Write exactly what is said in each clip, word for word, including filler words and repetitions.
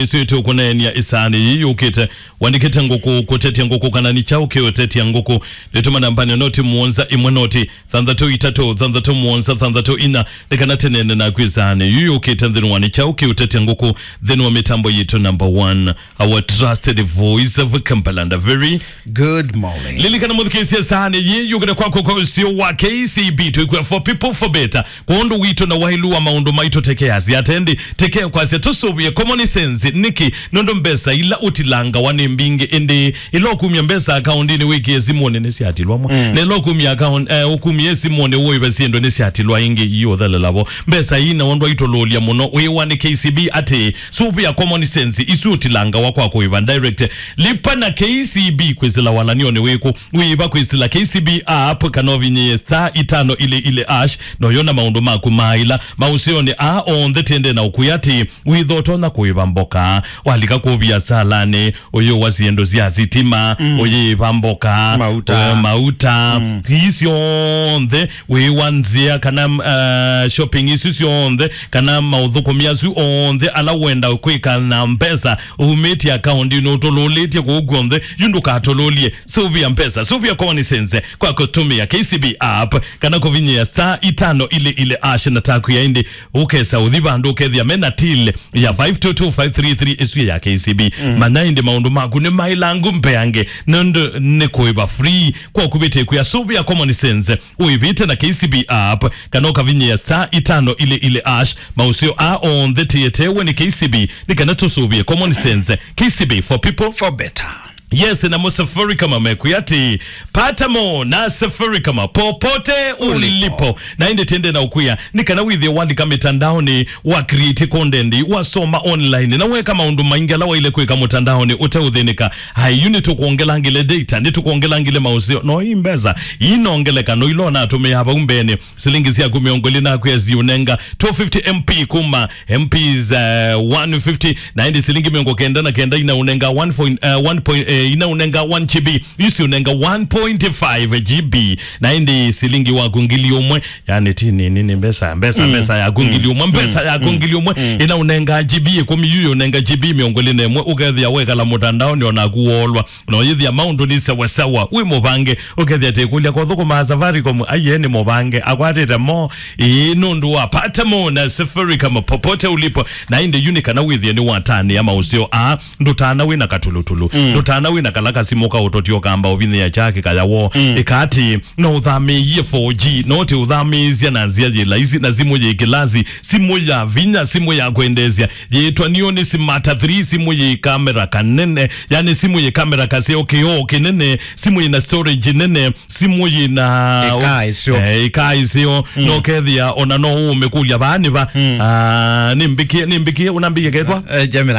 Ĩsu ĩtũkũneenea ĩsaanĩ yĩĩ yũkĩte. Wandĩkĩte ngũkũ, kũtetya ngũkũ, kana nĩ kyaũ kĩũtetya ngũkũ? Nĩtũma nambanĩ noti mũonza ĩmwe noti thanthatũ itatũ thanthatũ mũonza thanthatũ inya, nĩ kana tũneene naku ĩsaanĩ yĩĩ yũkĩte nthĩnĩ wa nĩ kyaũ kĩũtetya ngũkũ, nthĩnĩ wa mĩtambo yitũ number one, our trusted voice of Kampala. And a very good morning. Lilikana mũthikĩĩsya ĩsaanĩ yĩĩ yũkĩte kwakwa kwa ũsio wa K C B, twĩkwĩa for people for better. Kwondũ witũ na wailu wa maũndũ maitũ, teke asya atendi, teke kwasya tũsũvĩe common sense. Nĩkĩ? Nũndũ mbesa ila ũtilangawa nĩ mbingĩ, ĩndĩ ila ũkumya mbesa akaũndinĩ wĩkĩe simũnĩ nĩsyatilwa mwa. Mm. Na ila ũkumya akaũn-, eh, ũkumie simũnĩ ũĩve syĩndũ nĩsyatilwa ingĩ iũthelela vo. Mbesa ii na ũndũ aitũlũlya mũno wĩwa nĩ K C B atĩ sũvĩa common sense isu ũtilangawa kwa kũĩva direct. Lipa na K C B kwĩsĩla walany'onĩ wĩkũ? Wĩĩva kwĩsĩla K C B app kana ũvinyĩe star itano ili ili hash, na ũyona maũndũ maku ma ĩla maũseonĩ aa onthe. Tĩende na ũkwĩa atĩ wĩtha ũtonya kũĩva mboka, walika kũu viasalanĩ, ũyĩwa syĩndũ sya sitima, mm, ũyĩĩva mboka, mauta, eh, mauta, mm, ii syonthe, wĩĩwa nzĩa kana, uh, shopping isu syonthe, kana maũthũkũmi asu onthe ala wenda kwĩka na mbesa umĩtye akaũndinĩ ũtũlũlĩtye kũu kw'onthe, yu ndũkatũlũlye. Sũvĩa mbesa, sũvĩa common sense kwa kũtũmĩa K C B app kana kũvinyĩa star itano ili ili hash na taku ya ĩndĩ, ũkesa ũthi vandũ ũkethĩa mena till ya five two two five three three ĩsu ya K C B. Mm. Manya ĩndĩ maũndũ maku nĩ maĩlangu mbeange, nũndũ nĩ kũĩva free. Kwa kũvĩtĩkwĩa sũvĩa common sense, ũĩvĩte na K C B app kana ũkavinyĩa star itano ili ili hash. Maũseo aa onthe tĩetewe nĩ K C B nĩ kana tũsũvĩe common sense. K C B for people, for better. Yes, na mo Safaricom mekwĩa atĩ pata mo na Safaricom popote ulipo. Ulipo. Na ĩndĩ tĩende na ũkwĩa nĩ kana wĩthĩe wandĩka mĩtandaonĩ, wa create content, wasoma online, na weka maũndũ maingĩ ala waile kwĩka mũtandaonĩ ũteũthĩnĩka. Ai, yu nĩtũkwongelangile data, nĩtũkwongelangile maũseo. No ii mbesa inongeleka no ila ũnatũmĩaa vau mbeenĩ. Silingi syaku mĩongo ĩlĩ naku yasiũnenga two fifty M P kuma M Ps, eh, one fifty, na ĩndĩ silingi mĩongo kenda na kenda inaũnenga one point, eh, one point, eh, inaũnenga one G B, isiũnenga one point five G B, na ĩndĩ silingi waku ngili ũmwe, yani ti nini, nĩ mbesa, mbesa, mm, mbesa yaku, mm, ngili ũmwe, mbesa, mm, yaku, mm, ngili ũmwe, mm, inaũnenga G B ĩkũmi, yu yũnenga G B mĩongo ĩlĩ na ĩmwe, ũkethĩa wekala mũtandaonĩ onaku wolwa. No yĩthĩa maũndũ nĩ sawasawa, wĩ mũvange, ũkethĩa tĩkũlya kũthũkũma Safaricom, aiye nĩ mũvange, akwatĩte mo. Ĩĩ, nũndũ wa pata mo na Safaricom popote ulipo. Na ĩndĩ yu nĩ kana wĩthĩe nĩ watanĩa maũseo aa, ndũtana wĩ na katulutulu, mm, ndũtana wĩ na kala kasimũ kaũtotio kamba ũvinyĩa kyake kayawo. Mm. Ĩka atĩ, no ũthamĩĩie four G, no ti ũthamĩĩsya na nzĩa yĩ laisi na simũ yĩ kĩlasi, simũ ya vinya, simũ ya kwendeesya, yĩtwa Neon Smart three, simũ yĩ kamera kanene, yani simũ yĩ kamera kaseo, kĩoo kĩnene, simũ yĩ na storage nene, simũ yĩ na ĩkaa ĩseo. Eh, ĩkaa ĩseo. Mm. No kethĩa ona no ũmĩkũlya vaa nĩ va. Mm. Ah, nĩmbĩkie, nĩmbĩkie, ũnambĩie ketwa? Eh, Gemini.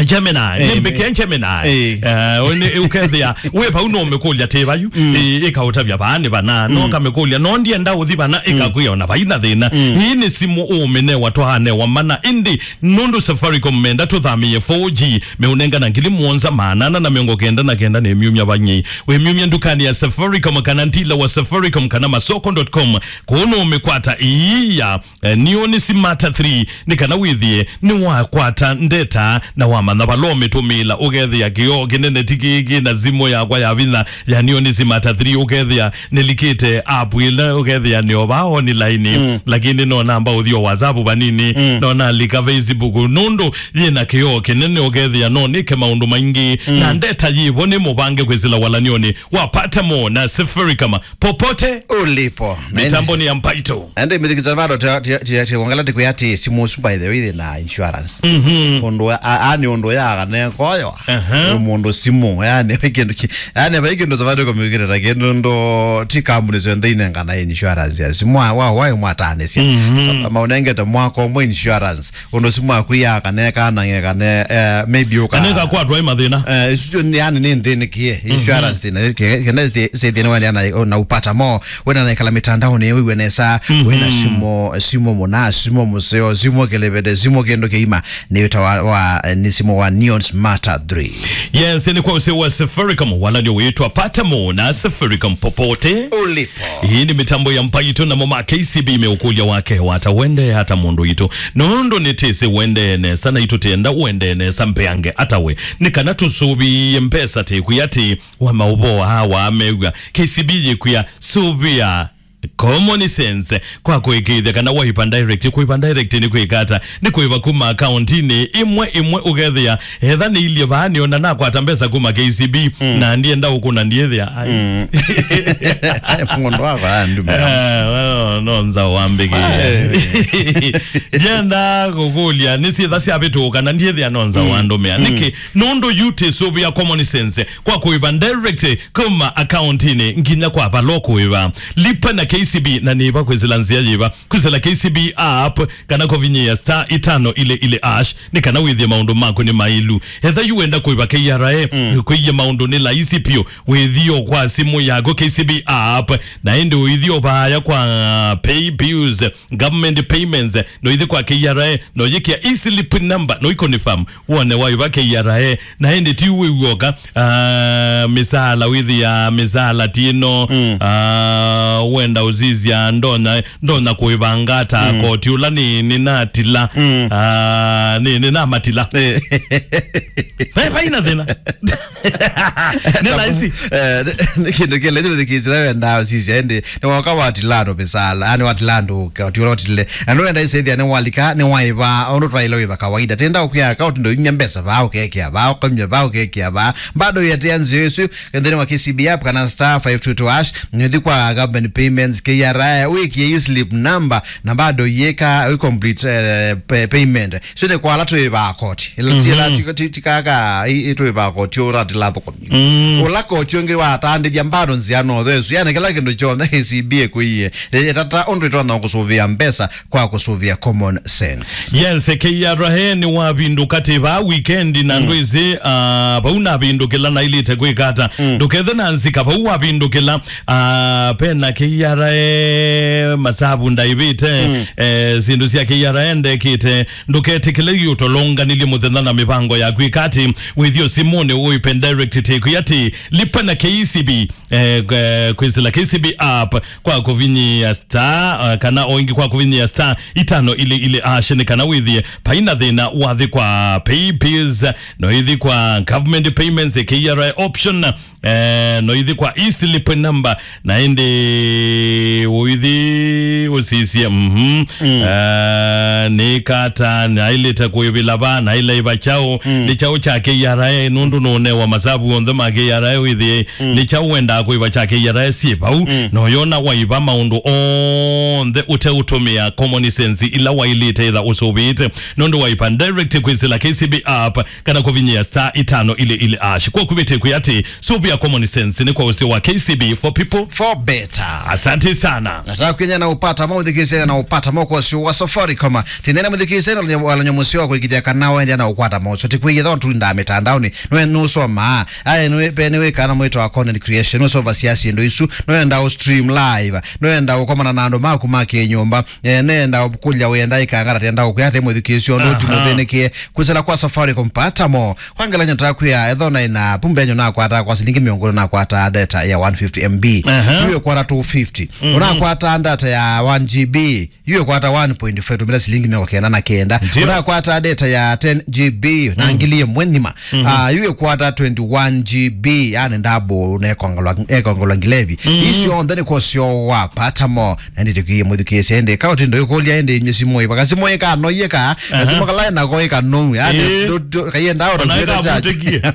Gemini. Eh, nĩmbĩkie Gemini. Eh. Eh, ũnĩ, ũkethĩa wĩ vau no ũmĩkũlya tĩ vayu. Mm. Eh, ĩkaũtavya vaa nĩ vana. No, mm, kamĩkũlya no ndienda ũthi vana, mm, ĩkakwĩa ona vaina thĩna. Mm. Ĩĩ nĩ simũ ũmĩnewa twanewa mana, ĩndĩ nũndũ Safaricom menda tũthamĩĩe four G, meũnengana ngili mũonza maana ana na mĩongo kenda na kenda nĩ myumya vang'ei. Wĩmyumya ndukanĩ ya Safaricom kana ndila wa Safaricom kana masoko dot com, kũu nũũmĩkwata ĩĩ ya, eh, Neon Smart three, nĩ kana wĩthĩe nĩwakwata ndeta na wamanya vala ũmĩtũmĩĩla. Ũkethĩa kĩoo kĩnene ti kĩĩ kĩ na simũ yakwa ya vinya ya Neon Smart three, ũkethĩa nĩlikĩte app ĩla ũkethĩa nĩ o vaa online, mm, lakini no namba ũthi o WhatsApp vanini, mm, no nalika Facebook, nũndũ yĩna kĩoo kĩnene, ũkethĩa no nĩke maũndũ maingĩ, mm, na ndeta yĩvo nĩ mũvange kwĩsĩla walany'onĩ wa pata mo na Safaricom popote ulipo. Mĩtambonĩ ya Mbaitũ. Ende mĩthikĩza vado tia, tia, tia, tia, wangala tikwĩa ati simũ ũsu, by the way, na insurance. Mhm. Ũndũ a, a, ani ũndũ ya kana koyo. Aha. Mũndũ simũ, yani, vai kĩndũ ki-, yani, vai kĩndũ Safaricom ĩkĩte ta kĩndũ ndo, ti kambuni syonthe inengana insurance ya simũ, wa, wa, wa, mwatanĩsya. Mhm. Sa-, maũnengete mwaka ũmwe insurance. Ũndũ simũ yaku yakaneka na ngekane, eh, maybe ũka- Kana ĩkakwatwa ĩ mathĩna. Eh, isu nĩ, yani, nĩ nthĩnĩkie. Mhm. Insurance thĩna, ke-, kenda thĩ-, thĩ-, thĩna wene na, na upata mo, wena na ikala mitandaoni, wĩwe nesa, mhm, wena simũ, simũ mũna, simũ mũseo, simũ kelevete, simũ kĩndũ kĩima, nĩ wĩta wa, wa, eh, nĩ simũ wa Neon Smart three. Yes, nĩ kwa Mũsyĩ wa Safaricom, walanio wĩtwa Pata Mo na Safaricom popote ulipo. Hii ni mitambo ya Mbaitũ, namo ma K C B meũkũlya wake wata wende hata mũndũ itũ. Nũndũ nĩtĩsĩ wende nesa, na itũtenda wende nesa mbeange ata we. Nĩ kana tũsũvĩe mbesa tĩkwĩa atĩ wa maũvoo aa wamew'a. K C B yĩkwĩa sũvĩa common sense kwa kũĩkĩĩthya kana waiva direct. Kũiva direct nĩ kwĩka ata? Nĩ kũiva kuma akauntinĩ ĩmwe ĩmwe, ũkethĩa etha nĩ ilyĩ vaa nĩona nakwata mbesa kuma K C B, mm, na ndienda ũkũna ndiĩthĩa. Ai. Mm. Mũndũ wakwa andumĩra. Ah, well, no nza wambĩkĩe. Ai. Ndienda kũkũlya nĩ syĩtha syavĩtũka na ndiĩthĩa no nza, mm, wandũmĩa. Mm. Nĩkĩ? Nũndũ yu tĩsũvĩa common sense kwa kũiva direct kuma akauntinĩ nginya kwa vala ũkũĩva. Lipa na K C B, na nĩva kwĩsĩla nzĩa yĩva? Kwĩsĩla K C B app kana kũvinyĩĩa star itano ile ile hash nĩ kana wĩthĩe maũndũ maku nĩ maĩlu. Etha yu wenda kũĩva K R A, mm, kwĩie maũndũ nĩ laisi piũ. Wĩthio kwa simũ yaku K C B app, na ĩndĩ ũithio vaaya kwa pay bills, government payments, no ithi kwa K R A, no yĩkĩa e-slip number, no iconfirm wone waiva K R A, na ĩndĩ ti wĩ w'oka, ah, mĩsaala wĩthĩa mĩsaala ti ĩno, mm, ah, wenda ũsisya ndonya, ndonya kũĩvanga ata, mm, koti ũla nĩ, nĩ natila, mm, ah, nĩ, nĩ namatila. Eh. Vai, vai na thĩna. Nĩ laisi. Eh, nĩ, nĩ kĩndũ kĩla ĩtũthikĩsĩla wenda ũsisya ĩndĩ nĩ woka watila andũ mĩsaala, yani watila andũ koti ũla ũtile. Na nĩ wenda isethia nĩ walika, nĩ waiva, ũndũ twaile wĩva kawaida. Tenda ũkwĩa account ndo imya mbesa vaa, ũkekĩa vaa, ũkamya vaa, ũkekĩa vaa. Bado yetea nzĩa ĩsu, nthĩnĩ wa K C B app kana star five two two hash, nĩthi kwa government payments, K R A, wĩkie e-slip number, na bado yĩka, wĩ complete, eh, pay-, payment. So nĩ kwa ala twĩvaa koti. Ila, mhm, ti ala ti, ti, ti kaka, i, i twĩvaa koti ũratila thũkũmi. Mm. Ũla koti ũngĩ watandĩthya bado nzĩa no thesu. Yani kĩla kĩndũ kyonthe K C B ĩkwĩie. Ĩ, ĩtata ũndũ ĩtonya kũsũvĩa mbesa kwa kũsũvĩa common sense. Yes, K R A nĩ wavindũka tĩ vaa weekend na, mm, ndwĩsĩ, ah, vau navindũkĩla nailĩte kwĩka ata. Mm. Ndũkethe na nzika vau wavindũkĩla, ah, pena K R A masavu ndaivĩte, mm, eh, syĩndũ sya K R A ndekĩte. Ndũketĩkĩle iũtolonganilye mũthenya na mĩvango yaku. Ĩka atĩ wĩthio simũnĩ ũipe direct tĩkwĩ atĩ lipa na K C B, eh, eh, kwĩsĩla K C B app kwa kũvinyĩa star, eh, kana o ĩngĩ kwa kũvinyĩa star itano ile ile hash nĩ kana wĩthĩe paina thĩna wathi kwa pay bills, no ithi kwa government payments, K R A option, eh, no ithi kwa e-slip number, na ĩndĩ ũithi ũsisye, mhm. Mm. Eh, nĩ kata, nailĩte kũĩvĩla va, nailaiva kyaũ, mm, nĩ kyaũ kya K R A, nũndũ nũnewa masavu onthe ma K R A wĩthĩe, mm, nĩ kyaũ wendaa kũĩva kya K R A syĩ vau, mm, na ũyona waiva maũndũ onthe ũteũtũmĩa common sense ila wailĩte ĩtha ũsũvĩĩte, nũndũ waipa direct kwĩsĩla K C B app, kana kũvinyĩa star itano ile ile hash. Kwa kuvĩtĩkwĩ atĩ, sũvĩa common sense nĩ kwa ũsio wa K C B for people. For better. Asante sana. Nataka kwenye na upata mo, thikisene na upata mo kwa ũsio wa Safaricom. Tinene mũthikisene, walanya mũsio wa kũigithia kana wende na ũkwata mo. So, tikwĩie thontu nda mĩtandaoni. Nwe nũsoma. Aye, nwe, pe nĩwĩkana mwĩto wa content creation. Nũsoma siasi ndo isu. Nwenda ũ stream live. Nwenda ũkomana na andũ maku ma kĩnyũmba. Eh, nenda ũkũlya wenda ikangara tenda ũkwĩa ate mũthikisio ndo, aha, timũthĩnĩkie. Kwĩsĩla kwa Safaricom pata mo. Kwa ngelekany'o takwĩa, ethĩwa naĩ na pumbe yenyu nakwataa kwa silingi mĩongo ĩlĩ nakwataa data ya one fifty M B. Aha. Yu ĩkwata two fifty. Mhm. Ũnakwataa data ya one G B, yu ĩkwata one point five, tũmĩla silingi mĩongo kenda na kenda. Ndio. Ũnakwataa data ya ten G B, na, mm, ngili ĩmwe nima. Mhm. Ah, yu ĩkwata twenty-one G B, yani double, nekongolwa, nekongolwa ngilevi. Mhm. Isu onthe nĩ kwa ũsio wa pata mo. Na ĩndĩ tũkĩie mũthukĩĩsya ĩndĩ, ka ũtindo ĩkũlya ĩndĩ inyuĩ simũ ĩva, kasimũ ĩkanoie ka, kasimũ, aha, kala ĩnako ĩkanou, yani, ĩĩ, ndũ-, ndũ-, kaiendaa ona ũtakuĩte charge. Ĩkavutĩkie.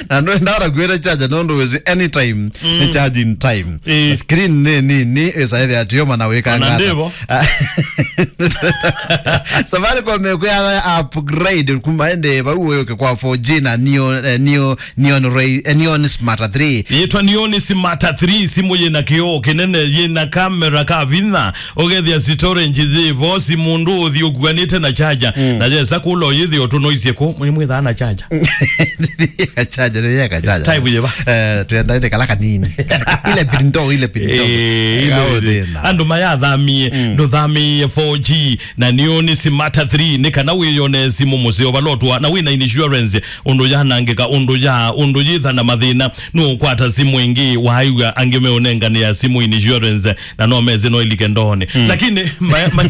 Na ndũendaa ũtakuĩte charge, nũndũ wĩsĩ anytime, mm, nĩ charging time. Ĩĩ. Na screen nĩ nini, ĩsaĩthĩa tioma na wĩkanga. Ona ata. Ndĩvo. Safaricom ĩkwĩa upgrade kuma ĩndĩ vau ũyũke kwa four G na neo, eh, neo, Neon Ray-, eh, Neon Smart three. Yĩtwa Neon Smart three, simũ yĩna kĩoo kĩnene, yĩna kamera ka vinya, ũkethĩa storage yĩ vo, si mũndũ ũthi ũkuanĩte na charger. Mm. Na yesa kũla ũyĩthĩ ũtũnoisie kũ, mwĩ mwĩthaa na charger. Charger, nĩ yeka charger. Type yĩva? Eh, twenda ĩndĩ kala kanini. Ile pinto, ile pinto. Eh, ile ĩka ũthĩna. Andũ mayathamie, mm, ndũthamĩĩe four G, na Neon Smart three, nĩ kana wĩyone simũ mũseo vala ũtũa, na wĩna insurance, ũndũ yanangĩka, ũndũ ya ah, ũndũ yĩtha na mathĩna, nũũkwata simũ ĩngĩ, waaĩw'a angĩ meũnenganĩa simũ insurance, na no mesĩ no ilike ndoonĩ. Lakini ma- ma-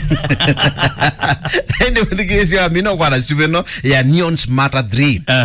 Ĩndĩ mũthikĩĩsya wa mina ũkwata simũ ĩno ya Neon Smarter three. Aha.